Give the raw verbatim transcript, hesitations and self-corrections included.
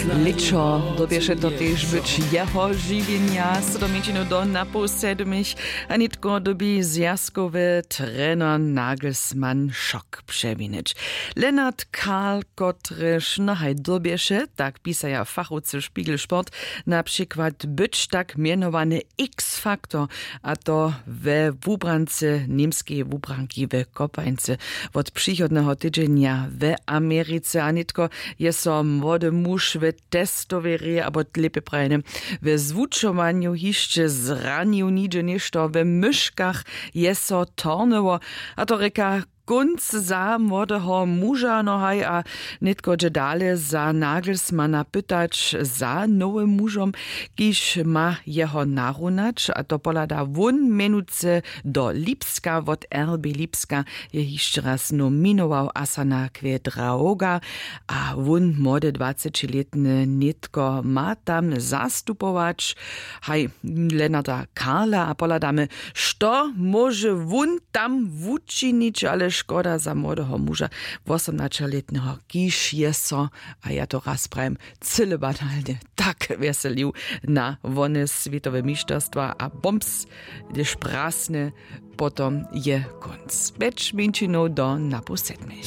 Lěćo dyrbješe to tež być jeho žiwjenja. Sydom mjeńšinu do napoł sedmich a nětko dyrbi zwjazkowy trener Nagelsmann šok přewinyć. Leonard Karl, kotryž nohaj dyrbješe, tak pisaja fachowcy Spiegelsport, na přikład być tak mjenowany X-faktor, a to we wubrance němskeje wubranki we Kopańcy wot přichodneho tydźenja w Americe. A nětko je so młody muž w testowej reje, abo lěpje prajene, w zwučowanju hišće zranił. Nihdźe něšto we myškach je so tornyło, a to rěka kónc za młodeho muža. No haj, a nětko dźe dale za Nagelsmana pytać za nowym mužom, kiž ma jeho narunać, a to pohlada wón mjenujcy do Lipska. Wot R B Lipska je hišće raz nominował Asana Kwedraoga, a wón młode dwacećilětny nětko ma tam zastupować. Haj, Lenarda Karla, a pohladamy, što móže wón tam wučinić, ale škoda za młodeho muža, wosomnaćelětneho, kiž je so, a ja to raz prajim, cyle banalnje tak wjeselił na wone swětowe mišterstwa a boms, hdyž prasne, potom je kónc. Pjeć mjeńšinow do napoł sedmich.